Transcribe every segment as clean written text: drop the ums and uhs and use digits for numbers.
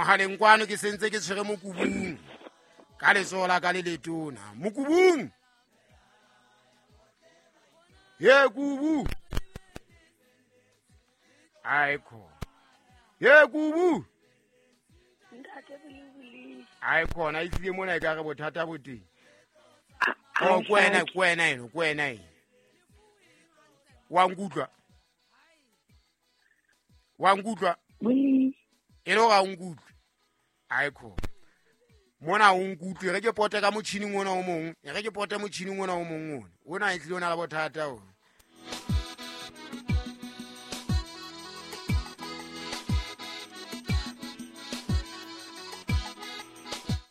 Mogaleng kwano ke sentse ke tshwere mokubung ka letsoho la ka le letona. Mokubung, ye kubu ae khona, ye kubu ae khona. E tlile mona e ka re bothata bo teng. O ke wena, ke wena eno, ke wena eno. Wa nkutlwa? Wa nkutlwa? E le gore a o nkutlwe? Ae khona mona o nkutlwe. Re ke pote ka motšhining ona o mongwe, e re ke pote motšhining ona o mongwe. One ona e tlile o na le bothata ona.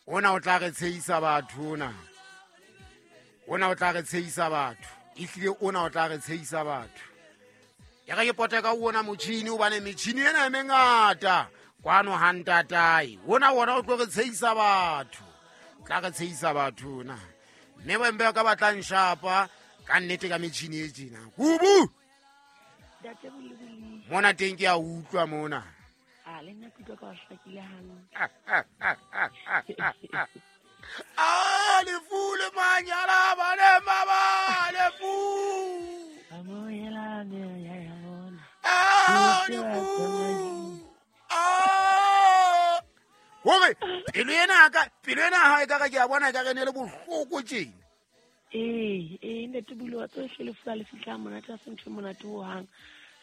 Ona o tla re tshehisa batho, ona ona o tla re tshehisa batho. Ehlile ona o tla re tshehisa batho. E re ke pote ka ona motšhini, hobane metšhini ena e mengata kwano ha ntatae. Ona wona o tlo re tshehisa batho, tla re tshehisa batho na. Mme bembe ka batlang shapa ka nnete ka metšhini e tjena. Kubu mona teng ke a utlwa mona. A le nna ke utlwa ka o hlakile hantle. A lefu le manyala bane maba lefu. Amohela meya ya bona. A lefu a hore pelo ena ka pelo ena ha e ka re ke a bona e ka re ne le bohloko tjena. Ee, ntate Bule, wa tseba ehlile lefu ha le fihla monate, ha se ntho e monate hohang.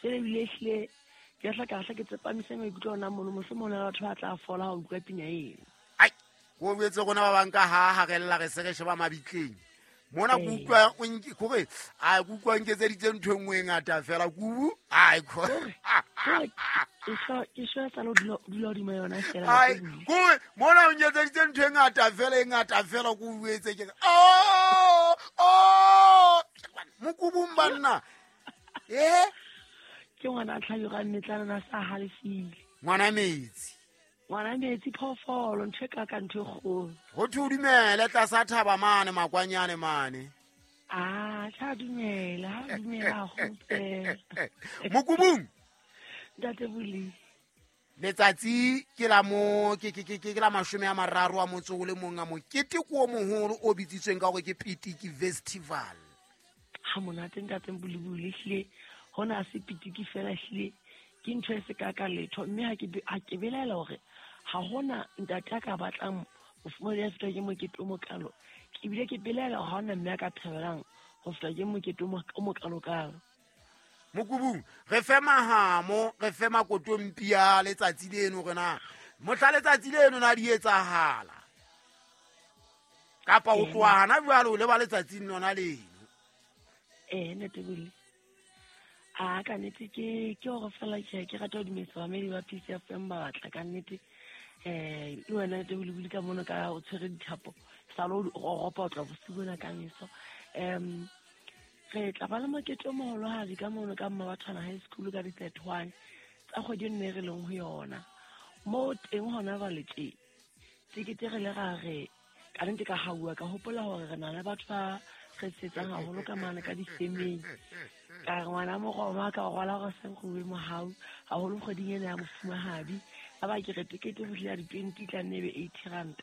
Jwale ebile ehlile ke hla ka hla ke tsepamise maikutlo ona mono, mohlomong ho na le batho ba tla fola ha o utlwa pina eno. Ai, ko boetse rona ba bang ka ha ha re lla re se re sheba mabitleng mona. Ke utlwa o nke kore a ke utlwa nketseditse ntho e nngwe e ngata fela kubu ai. Kore ke shwa sa lo dula hodima yona fela. Ai, kore mona o nketseditse ntho e ngata fela, e ngata fela. Ko boetse ke re oh oh mokubung banna e. Ke ngwana a tlhabirwa mmetlana na sa halefile. Ngwana metsi. Ngwana metsi, phoofolo, ntho e ka ntho e kgolo. Ho thwe o dumele tlasa thaba mane makwanyane mane. A tla dumela, ha dumela haholo fela. Mokubung. Ntate Bule. Letsatsi ke la mo ke ke ke ke la 30 a motso o le mong a mokete ko o moholo o bitsitsweng ka hore ke Pitiki Festival. Ha monate ntate Bule, Bule, ehlile hona se pitiki fela, ehlile ke ntho e se ka ka letho. Mme ha ke belaela hore ha hona ntate a ka batlang mofumahadi ya fetwa ke mokete o mokalo. Ke bile ke belaela hore ha hona mme a ka thabelang ho fetwa ke mokete o mokalo-kalo. Mokubung, re fe mahamo, re fe makotompi a letsatsi leno, re na mohla letsatsi leno na di etsahala kapa o tloha hana jwale o leba letsatsing lona leno? Ee, ntate Bule, a ka nnete ke hore fela ke rata ho dumedisa bamedi ba PCFM ba batla ka nnete. Le wena ntate Bule, Bule ka mono ka o tshwere dithapo sa lo ropa o tla bosiu bona ka meso. Re tla ba le mokete o moholohadi ka mono ka Mmabathwana High School ka di-31 tsa kgwedi e nne re leng ho yona. Moo teng hona jwale tje tekete re le ra re ka nnete ka hauwa ka hopola hore re na le batho ba re setsang haholo ka mane ka difemeng. Ka re ngwana moroma ka rwala gore seng go mohau haholo kgweding ena ya mofumahadi. A ba ke re tekete ho fihlela di-20 tla nne e be R80,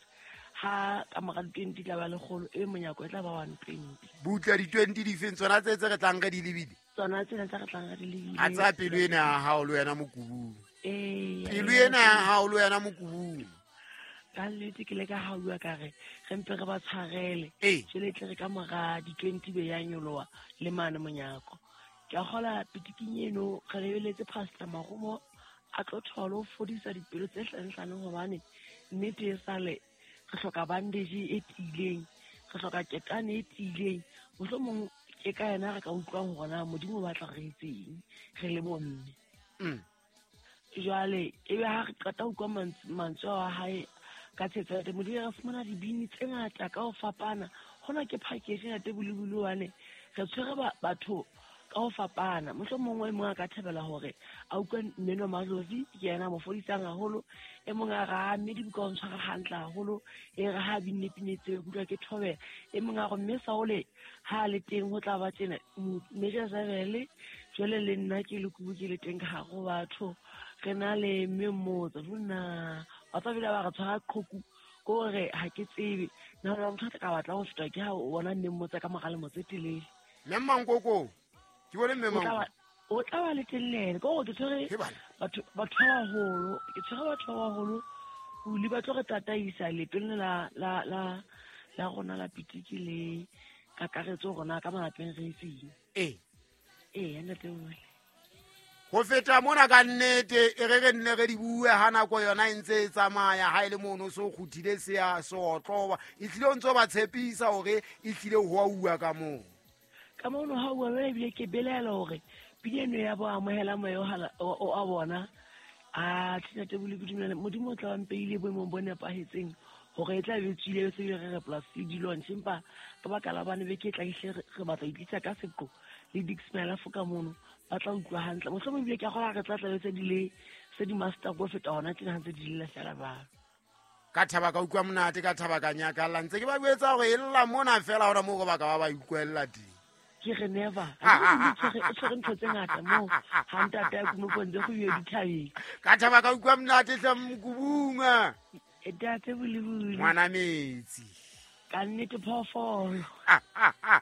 ha ka mora di-20 tla ba 100, e monyako e tla ba 120. Butle, di-20 difeng tsona tse tse re tlang re di lebile? Tsona tsena tse re tlang re di lebile. A tsaya pelo ena ya hao le wena mokubung. Ee. Pelo ena ya hao le wena mokubung. Ka nnete ke le ka hauwa ka re re mpe re ba tshwarele. Jwale tle re ka mora di-20 be ya nyoloha le mane monyako. Ke a kgola pitiking eno re lebeletse Pastor Marumo a tlo thola ho fodisa dipelo tse hlanhlaneng, hobane nnete e sale re hloka bandage e tiileng, re hloka ketane e tiileng. Mohlomong ke ka yena re ka utlwang hore na Modimo o batla re etseng re le bomme. Jwale ebe ha re qeta ho utlwa mantswe a hae ka tshetso ya teng, Modimo, re fumana dibini tse ngata ka ho fapana. Hona ke package ntate Bule, Bule, hobane re tshwere batho ka ho fapana. Mohlomong e mong a ka thabela hore a utlwe mmino Madlozi, ke yena a mo fodisang haholo. E mong a re, ah, mme dibuka o ntshwara hantle haholo, e re ha binne pina tseo, ke utlwa ke thobela. E mong a re, mme Saole ha a le teng ho tla ba tjena, mme Jezebele, jwale le nna ke le kubu ke le teng ka hare ho batho. Re na le mme Mmotso, ho nna Ba tla bile ba re tshwara qhoku, ko hore ha ke tsebe. Nna motho a tla ka batla ho fetwa ke ha o bona nneng motse ka mora lemo tse telele. Mme Mankoko, ke bone mme O tla Mankoko. o tla ba le telele. Ke hore ke tshwere He bana. batho ba baholo, ke tshwere batho ba baholo. Buli ba tlo re tataisa leetong la la la la rona la pitiki le kakaretso rona ka malapeng re etseng. Ee. Ee, ntate Buli. Ho feta mona ka nnete e re re nne re di bue ha nako yona e ntse e tsamaya, ha e le mono so kguthile se a seotloba, e tlile o ntso ba tshepisa hore e tlile ho a uwa ka moo. Ka mono ha uwa jwale ebile ke belaela hore pina eno ya bo amohela moya o a bona. A ntate Buli, ke dumela Modimo o tla ba mpeile boemong bo nepahetseng hore e tla be tswile se bile re re plus le di-launch, empa ka baka la bane beke e tlang ehlile re batla ho itlisa ka seqo le Dix Malafo ka mono, ba tla utlwa hantle. Mohlomong ebile ke a kgolwa re tla tlabe se di le se di master go feta hona tjena ha ntse di lela feela jwalo. Ka thaba ka utlwa monate, ka thaba ka nyakalla, ntse ke ba jwetsa hore e lla mona feela hona moo re ba ka ba ba utlwella teng. Ke re never. Ha ke re o tshwere ntho tse ngata moo, ha ntate a kumo pontse go yo dithabeng. Ka thaba ka utlwa monate hle mokubunga. Ntate Bulibuli. Ngwana metsi. Ka nnete phoofolo.